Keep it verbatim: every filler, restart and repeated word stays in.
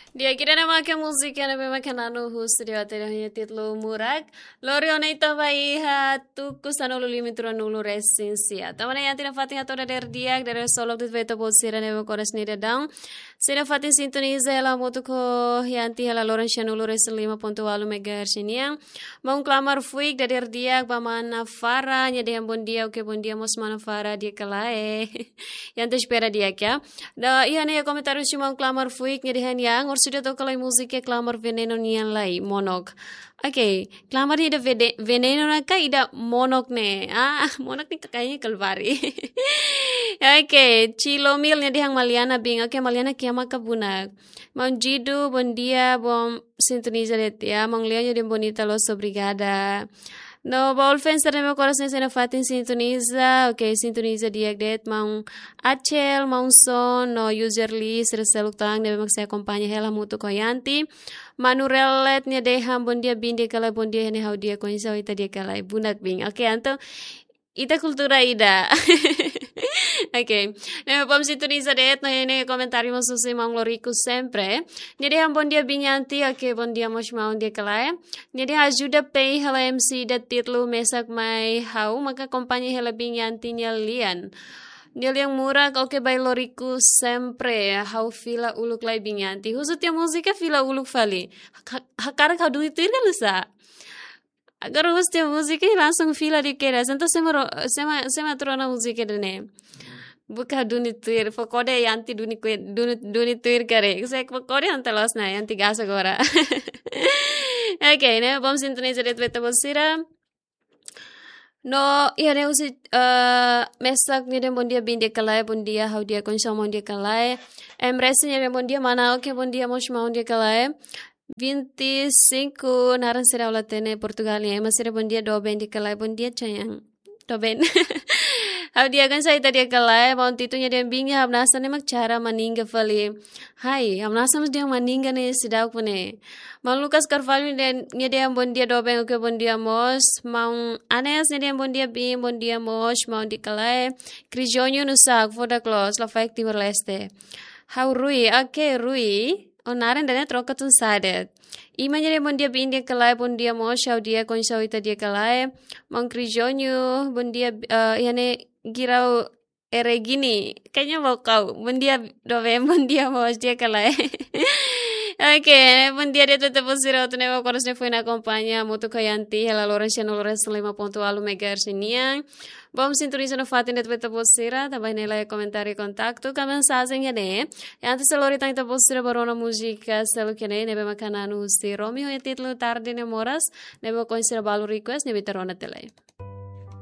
Di'ak, ida-ne'e mak múzika ne'ebé mak na'in-nulu husi dia, ida-ne'e nia títulu Murak. Lori ona ita ba iha tuku sanulu-lima to'o ruanulu-resin-sia. Tanba ne'e Yanti nafatin hato'o dadeer di'ak, dadeer solok de'it ba ita-boot sira ne'ebé koras ni dadaun. Sira nafatin sintoniza hela hamutuk ho Yanti hela loron sanulu-resin-lima pontu ualu megahertz nian. Maun Klamar Fuik, dadeer di'ak ba mana Fara, nia dehan bondia, oke, bondia mós mana Fara, di'ak ka lae. Yanti espera di'ak, ya. No, iha ne'e komentáriu husi maun Klamar Fuik, nia dehan, yang, orsida toka lai múzika Klamar Veneno nian lai, Monok. Oke, Klamar ida vede-, Veneno ne'e ka ida Monok ne'e. Ah, Monok ne'e kayaknya Kalvari. Oke, Cilomil nia dehan Maliana bin. Oke, Maliana kiama ka bunak. Maun Jidu, bondia, bom sintoniza de'it, ya. Maun Leonio dehan bonita los, obrigada. No, ba all fans sira ne'ebé koras ni sira nafatin sintoniza, oke, sintoniza di'ak de'it, maun Acel, maun Son, no user list, sira seluk tan ne'ebé mak sei akompaña hela hamutuk ho Yanti. Manu Relet nia dehan bondia bin, di'ak ka lae, bondia, ne'e ha'u di'ak, oinsá ita, di'ak ka lae, bunak bin. Oke, entaun ita kultura ida. Oke. Ne'e bom sintoniza de'it, no iha ne'e komentáriu mós husi maun Loriku Sempre. Nia dehan bondia bin Yanti, oke, bondia mós maun, di'ak ka lae. Nia dehan ajuda pei hela M C ida títulu Mesak Mai Ha'u, maka akompaña hela bin Yanti nia lian. Nia lian Murak, oke, ba Loriku Sempre. Ha'u fila uluk lai bin Yanti. Husu tiha múzika fila uluk fali. Ha-, hakarak ha'u duni tuir ka lae sá? Agora husu tiha múzika i langsung fila de'it kedas. Entaun sé mak ro-, sé mak, sé mak atu rona múzika ida-ne'e? Buka duni tuir, pokoknya Yanti duni kue-, duni, duni tuir karik. Sé pokoknya entaun loos ona, Yanti gas agora. Oke, ne'e bom sintoniza de'it ba ita-boot sira. No, iha ne'e husi, eh, Mesak nia dehan bondia bin, di'ak ka lae, bondia, ha'u di'ak, oinsá maun, di'ak ka lae. Em Resi nia dehan bondia mana, oke, bondia mós maun, di'ak ka lae. Vinte e cinco, naran sira ha'u la hatene, Portugal nian, ema sira bondia, doben, di'ak ka lae, bondia, Chayang. Doben. Ha'u di'ak, oinsá ita, di'ak ka lae. Maun Titu nia dehan bin, hamnasa ne'e mak cara maninga fali. Hai, hamnasa mós dehan maninga ne'e seidauk ne'e. Maun Lucas Carvalho nia dehan, nia dehan bondia, doben, oke, bondia mós. Maun Anes nia dehan bondia bin, bondia mós maun, di'ak ka lae. Crijonho no saco, foda close, lafaek Timor-Leste. Ha'u Rui, oke, Rui. O naran ida-ne'e troka tun sadet. Ima nia dehan bondia bin, di'ak ka lae, bondia mós, ha'u di'ak, oinsá ita, di'ak ka lae. Maun Crijonho, bondia, eh, iha ne'e Girau Eregini. Kayaknya mau kau. Bondia doben, bondia mós, di'ak ka lae. Oke, bondia de'it ba ita-boot sira hotu ne'ebé koras ni foin akompaña hamutuk ho Yanti hela loron sanulu-resin-lima pontu ualu megahertz nian. Bom sintoniza nafatin de'it ba ita-boot sira, tanba ne'e laiha komentáriu kontaktu ka mensajen iha ne'e. Yanti sei lori tan ita-boot sira ba rona múzika seluk iha ne'e, ne'ebé mak na'in-nulu husi Romeo nia títulu Tarde Ne'e Moras, ne'ebé mak ohin sira balu request, ne'ebé ita rona tiha lai.